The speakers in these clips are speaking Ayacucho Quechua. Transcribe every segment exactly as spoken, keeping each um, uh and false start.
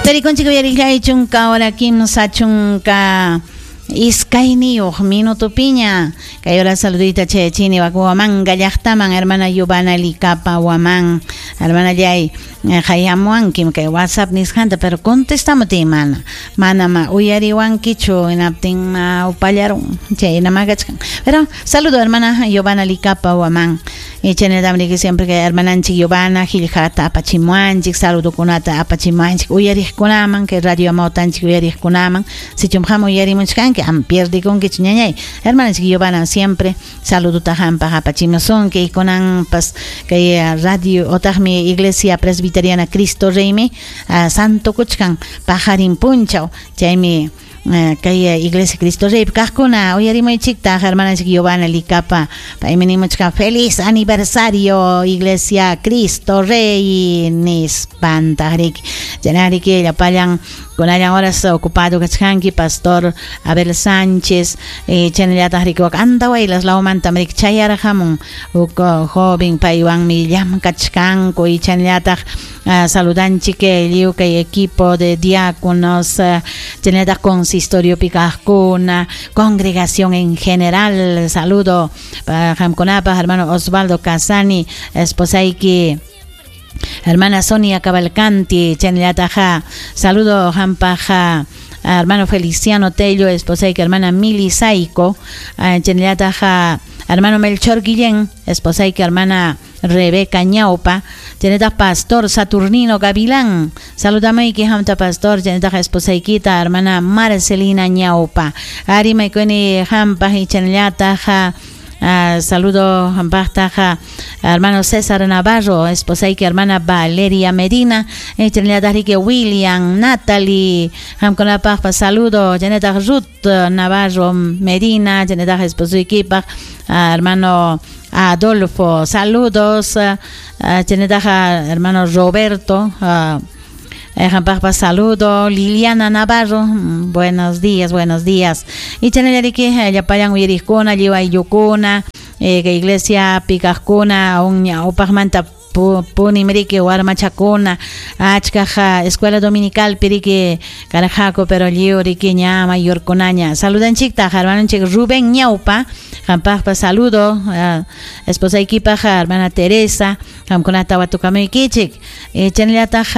Tarikunchik uyariqllay chunka hora kimsa chunka iskayniyuq minutupiña kay hora saludita chayachini Huamanga llaqtaman hermana Yubana Licapa Huamán hermana llay qayamuwankim kay WhatsApp nisqanta pero contestamuti mana mana ma uyariwankichu hinaptin ma upallarun chayna makachkan pero saludo hermana Yubana Licapa Huamán y chaynallam siempre que hermananchik Yubana qillqata apachimuanchik saludokunata apachimuanchik uyariqkunaman kay radio amawtanchik uyariqkunaman sichum ham uyarimuchkanki am pierdikunkichu ñañay hermananchik Yubana siempre saluduta hampaq apachimusunki y kunanpas kay radio otaqmi Iglesia Presbiteriana Cristo Reymi uh, santo kuchkan pajarin punchaw chaymi uh, kay Iglesia Cristo Rey kaqkuna uyarimuychiktaq hermananchik Yubana Licapa paymi nimuchkan feliz aniversario Iglesia Cristo Rey nispantaq riki chaynariki llapallan kunallan horas ocupado kachkanki pastor Abel Sánchez eh, chaynallataq riki wak Andahuaylas lawmanta riki chayarqamun huk joven paywanmi llamkachkanku y chaynallataq uh, saludanchik lliw kay equipo de diáconos uh, chaynallataq consistoriopi kaqkuna congregación en general saludo para qamkunapaq hermano Osvaldo Casani esposayki hermana Sonia Cavalcanti chaynallataq saludo hampaq hermano Feliciano Tello esposayki hermana Mili Saico chaynallataq hermano Melchor Guillén esposayki hermana Rebeca Ñaupa chaynallataq pastor Saturnino Gavilán saludamayki hamta pastor chaynallataq esposaykita hermana Marcelina Ñaupa arimaykuni hampaq y chaynallataq Uh, saludo hampaqtaqa hermano César Navarro, esposayki hermana Valeria Medina, chaynallataq riki William, Natalie, qamkunapaqpas saludo, chaynallataq Ruth Navarro Medina, chaynallataq esposuykipaq uh, hermano Adolfo, saludos, uh, chaynallataq hermano Roberto, uh, hampaqpas saludo, Liliana Navarro, buenos días, buenos días. Y chaynallariki llapallan uyariqkuna, lliw ayllukuna, eh, kay iglesia pikaqkuna, un ñawpaqmanta punim riki warmachakuna, achkaq escuela dominical piriki karqaku, pero lliw riki ña mayorkunaña. Saludanchiktaq hermanonchik Rubén Ñaupa, hampaqpas saludo, uh, esposaykipaq hermana Teresa, qamkunata watukamuykichik. Eh, chaynallataq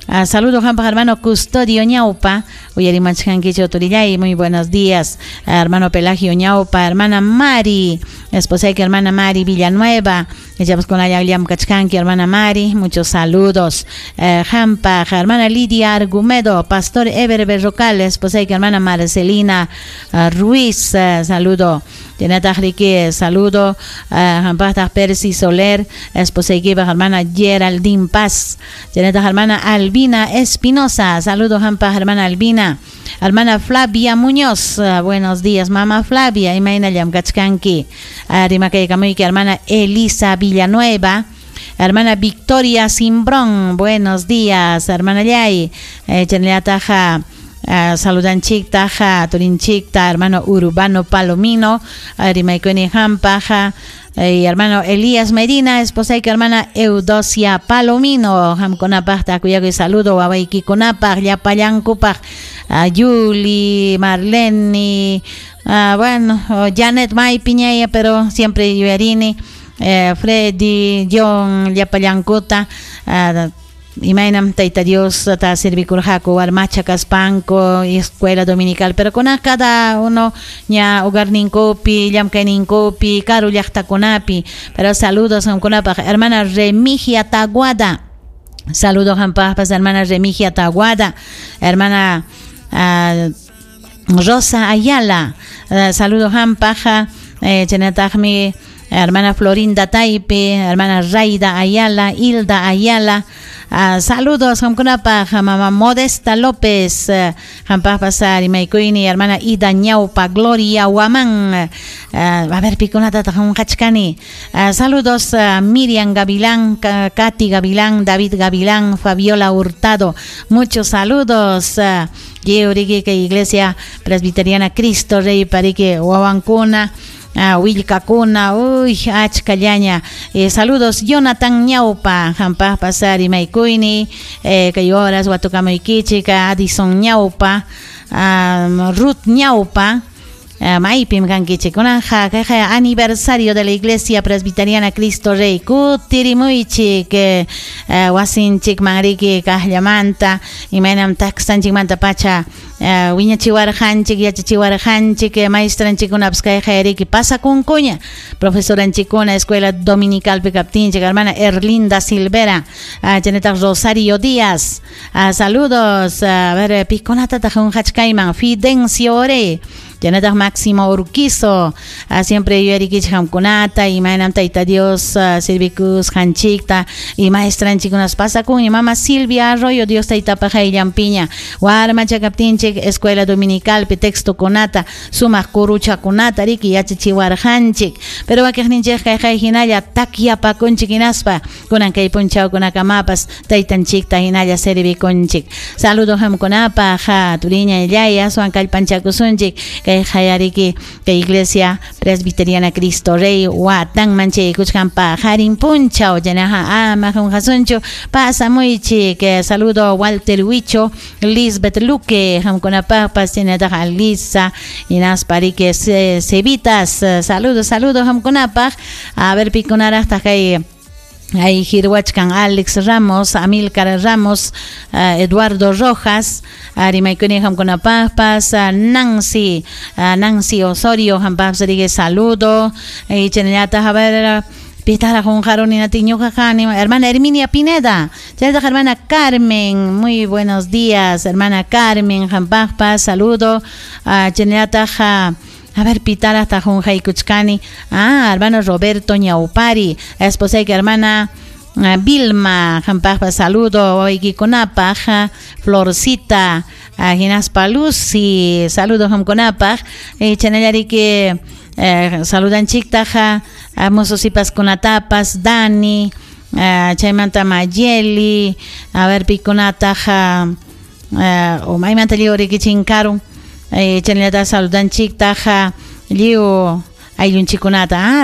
Uh, saludo hampaq hermano Custodio Ñaupa, uyarimachkankichu turillay, muy buenos días, uh, hermano Pelagio Ñaupa, hermana Mari, esposayki hermana Mari Villanueva, echamos con allá llamkachkanki hermana Mari, muchos saludos, uh, hampaq hermana Lidia Argumedo, pastor Ever Berrocal, esposayki hermana Marcelina uh, Ruiz, uh, saludo, chaynataq riki saludo, uh, hampaqtaq Percy Soler, esposaykipaq hermana Geraldine Paz, chaynataq hermana Albina Espinosa, saludo hampaq hermana Albina, hermana Flavia Muñoz, uh, buenos días mamá Flavia, imayna llamkachkanki, uh, rimakaykamuyki hermana Elisa Villanueva, hermana Victoria Simbrón, buenos días, hermana Yay, eh, chaynallataq Uh, saludanchiktaq turinchikta hermano Urbano Palomino, rimaykuni hampaq eh, hermano Elías Medina, esposayki hermana Eudosia Palomino, qamkunapaqta kuyakuy saludo wawaykikunapaq llapallankupaq, uh, Yuli, Marlene, uh, bueno, Janet maypiñaya, pero siempre yuyarini, eh, Freddy, John, llapallankuta, uh, imaynam Tayta Dios ta servikurqaku warmacha kaspanku escuela dominical pero kuna cada uno ña hogarninkupi llamkayninkupi karu llaqtakunapi pero saludos qamkunapaq hermana Remigia Taguada, saludos hampaqpas hermana Remigia Taguada, hermana uh, Rosa Ayala, uh, saludos hampaq eh, chaynataqmi hermana Florinda Taipe, hermana Raida Ayala, Hilda Ayala, uh, saludos qamkunapaq mamá Modesta López, uh, hampaqpas rimaykuyni hermana Ida Ñaupa, Gloria Huamán, uh, a ver pikunatataq qunqachkani, uh, saludos uh, Miriam Gavilán, Katy Gavilán, David Gavilán, Fabiola Hurtado, muchos saludos, uh, lliw riki kay Iglesia Presbiteriana Cristo Rey pariki wawankuna, Willkakuna, uy, achkallaña. eh, saludos Jonathan Ñaupa, hampaqpas rimaykuyni, eh, kay horas watukamuykichik Addison Ñaupa, um, Ruth Ñaupa. Uh, maypim kankichik kunanja kayqa aniversario de la Iglesia Presbiteriana Cristo Rey kutirimuychik eh, uh, wasinchikman riki kaqllamanta imaynam taksanchikmanta pacha uh, wiñachiwarqanchik yachachiwarqanchik maestranchikkunapas kayqa riki pasakunkuña profesoranchikkuna escuela dominicalpi kaptinchik hermana Erlinda Silvera, uh, chaynataq Rosario Díaz, uh, saludos. A ver, pikunatataq qunqachkayman? Fidencio Ore, chaynataq Máximo Urquizo, uh, siempre yuyarikichik hamkunata imaynam Tayta Dios uh, servikusqanchikta y maestranchikkunas pasakun. Mama Silvia Arroyo, Dios Taytapaq qayllanpiña warmacha kaptinchik escuela dominicalpi textokunata sumaq kuruchakunata riki yachachiwarqanchik, pero wakiqninchik kayqay hinalla takyapakunchik hinaspa kunan kay punchawkunakamapas taytanchikta hinalla servikunchik. Saludos hamkunapaq, turiña illay, aswan kallpanchakusunchik kay qayariki kay Iglesia Presbiteriana Cristo Rey watanman chaykuchkan paqarin punchaw chaynaqa ama qunqasunchu, pasamuychik. Saludo Walter Huicho, Lisbeth Luque, hamkunapaqpas, chaynataq Alisa hinaspa riki Cevitas, saludos, saludos hamkunapaq. A ver, pikunaraqtaq kay ahí hirwachkan? Alex Ramos, Amilcar Ramos, uh, Eduardo Rojas, rimaykuni hamkunapaqpas, uh, Nancy, uh, Nancy Osorio, hampaqpas riki saludo, y chaynallataq, a ver, pitara qunqaruni ñuqa, hermana Herminia Pineda, chaynataq hermana Carmen, muy buenos días, hermana Carmen, hampaqpas saludo, uh, chaynallataq, a ver, pitaraqtaq qunqaykuchkani? Ah, hermano Roberto Ñaupari, esposayki hermana uh, Vilma, hampaqpas saludo, wawaykikunapaq, Florcita, uh, hinaspa Lucy, saludo hamkunapaq, eh, chaynallariki eh, saludanchiktaq mozo sipaskunatapas, Dani, uh, chaymanta Mayeli, a ver, pikunataq, uh, o maymanta lliw riki chinkarun, eh, chaynallata saludanchiktaq lliw ayllunchikkunata. Ah.